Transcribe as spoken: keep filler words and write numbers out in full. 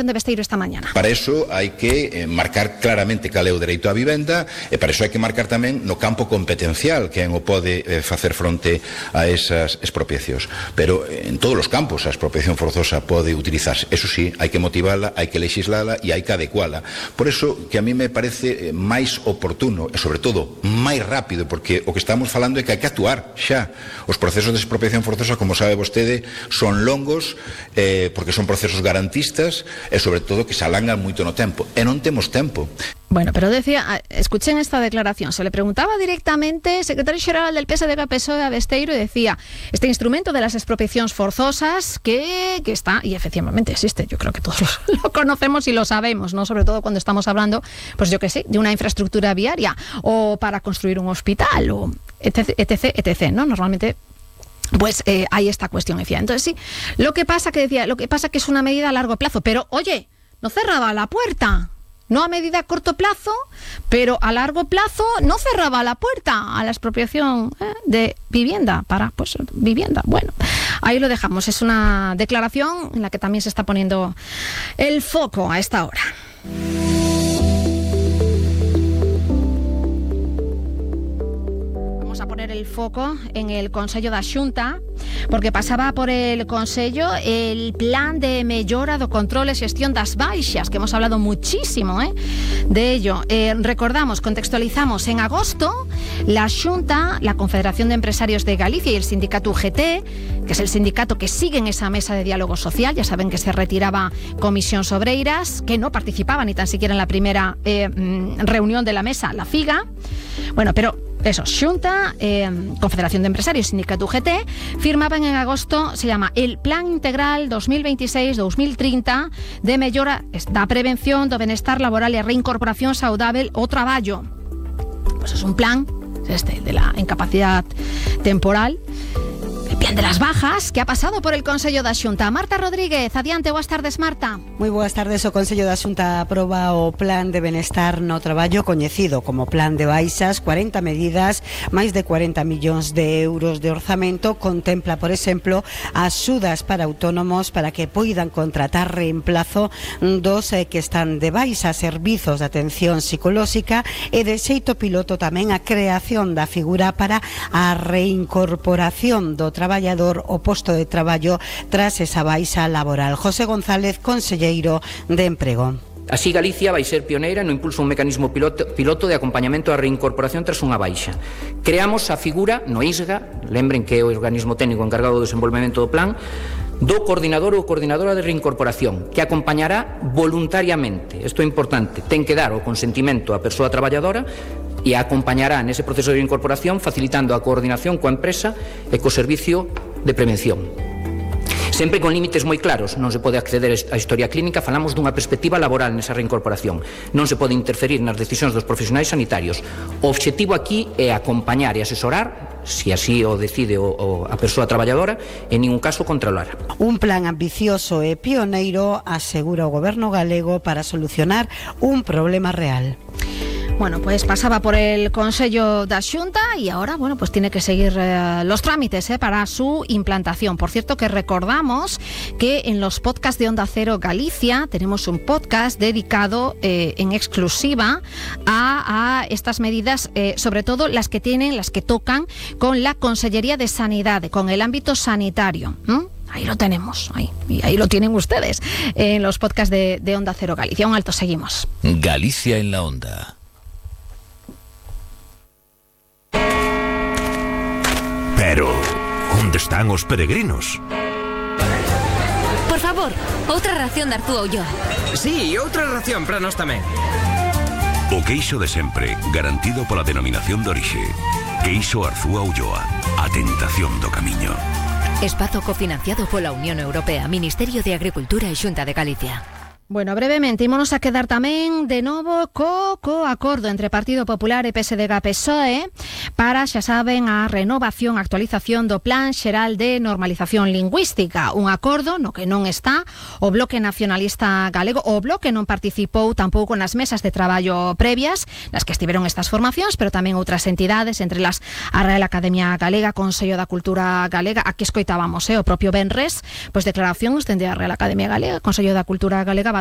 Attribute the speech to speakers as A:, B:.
A: de Besteiro esta mañana.
B: Para eso hai que eh, marcar claramente cal é o dereito á vivenda e para eso hai que marcar tamén no campo competencial quen o pode eh, facer fronte a esas expropiacións. Pero eh, en todos os campos a expropiación forzosa pode utilizarse. Eso sí, hai que motivala, hai que legislala e hai que adecuala. Por eso que a mí me parece eh, máis oportuno e sobre todo máis rápido, porque o que estamos falando é que hai que actuar xa. Os procesos de expropiación forzosa, como sabe vostede, son longos eh, porque son procesos garantistas e sobre todo que se alangan moito no tempo e non temos tempo.
A: Bueno, pero decía, escuchen esta declaración, se le preguntaba directamente secretario xeral del P S D G P S O E a Besteiro y decía, este instrumento de las expropiacións forzosas que, que está, y efectivamente existe, yo creo que todos lo conocemos y lo sabemos, ¿no? Sobre todo cuando estamos hablando, pues yo que sé, de una infraestructura viaria o para construir un hospital o etc, etc, etc, ¿no? Normalmente pues eh, hay esta cuestión, decía. Entonces sí, lo que pasa que decía, lo que pasa que es una medida a largo plazo, pero oye, no cerraba la puerta. No a medida a corto plazo, pero a largo plazo no cerraba la puerta a la expropiación eh, de vivienda para, pues, vivienda. Bueno, ahí lo dejamos. Es una declaración en la que también se está poniendo el foco a esta hora. A poner el foco en el Consello da Xunta, porque pasaba por el Consello el plan de mellora do control e xestión das baixas, que hemos hablado muchísimo ¿eh? de ello. Eh, recordamos, contextualizamos, en agosto la Xunta, la Confederación de Empresarios de Galicia y el sindicato U G T, que es el sindicato que sigue en esa mesa de diálogo social, ya saben que se retiraba Comisións Obreiras, que no participaba ni tan siquiera en la primera eh, reunión de la mesa, la FIGA. Bueno, pero eso, Xunta, eh, Confederación de Empresarios, Sindicato U G T, firmaban en agosto, se llama el Plan Integral dos mil veintiséis dos mil treinta de mellora da prevención do benestar laboral e reincorporación saudável ao traballo. Pues es un plan, este, de la incapacidad temporal, el plan de las bajas, que ha pasado por el Consello da Xunta. Marta Rodríguez, adiante, boas tardes, Marta.
C: Moi boas tardes. O Consello da Xunta aproba o Plan de Benestar no Traballo, coñecido como Plan de Baixas, cuarenta medidas, máis de cuarenta millóns de euros de orzamento. Contempla, por exemplo, axudas para autónomos para que poidan contratar reemplazo dos eh, que están de baixa, servizos de atención psicolóxica e de xeito piloto tamén a creación da figura para a reincorporación do traballador o posto de traballo tras esa baixa laboral. José González, conselleiro de Emprego.
D: Así Galicia vai ser pioneira no impulso un mecanismo piloto, piloto de acompañamento á reincorporación tras unha baixa. Creamos a figura no I S G A, lembren que é o organismo técnico encargado do desenvolvemento do plan, do coordinador ou coordinadora de reincorporación, que acompañará voluntariamente. Isto é importante, ten que dar o consentimento á persoa traballadora e a acompañará nese proceso de incorporación facilitando a coordinación coa empresa e co servicio de prevención. Sempre con límites moi claros, non se pode acceder á historia clínica, falamos dunha perspectiva laboral nesa reincorporación. Non se pode interferir nas decisións dos profesionais sanitarios. O obxectivo aquí é acompañar e asesorar, se así o decide o, o, a persoa traballadora, en ningún caso controlar.
C: Un plan ambicioso e pioneiro, asegura o goberno galego, para solucionar un problema real.
A: Bueno, pues pasaba por el Consello da Xunta y ahora, bueno, pues tiene que seguir eh, los trámites eh, para su implantación. Por cierto, que recordamos que en los podcasts de Onda Cero Galicia tenemos un podcast dedicado eh, en exclusiva a, a estas medidas, eh, sobre todo las que tienen, las que tocan con la Consellería de Sanidad, con el ámbito sanitario. ¿Mm? Ahí lo tenemos, ahí, y ahí lo tienen ustedes en los podcasts de, de Onda Cero Galicia. Un alto, seguimos.
E: Galicia en la Onda.
F: Pero, onde están os peregrinos?
G: Por favor, outra ración de Arzúa Ulloa.
H: Sí, outra ración para nós tamén.
F: O queixo de sempre, garantido pola denominación de orixe. Queixo Arzúa Ulloa, a tentación do camiño.
G: Espazo cofinanciado pola Unión Europea, Ministerio de Agricultura e Xunta de Galicia.
A: Bueno, brevemente, ímonos a quedar tamén de novo co, co acordo entre Partido Popular e P S D G P S O E para, xa saben, a renovación, actualización do Plan Xeral de Normalización Lingüística. Un acordo no que non está o Bloque Nacionalista Galego. O Bloque non participou tampouco nas mesas de traballo previas nas que estiveron estas formacións, pero tamén outras entidades, entre las a Real Academia Galega, Consello da Cultura Galega. Aquí escoitábamos eh, o propio Benres, pois declaracións dende a Real Academia Galega, Consello da Cultura Galega,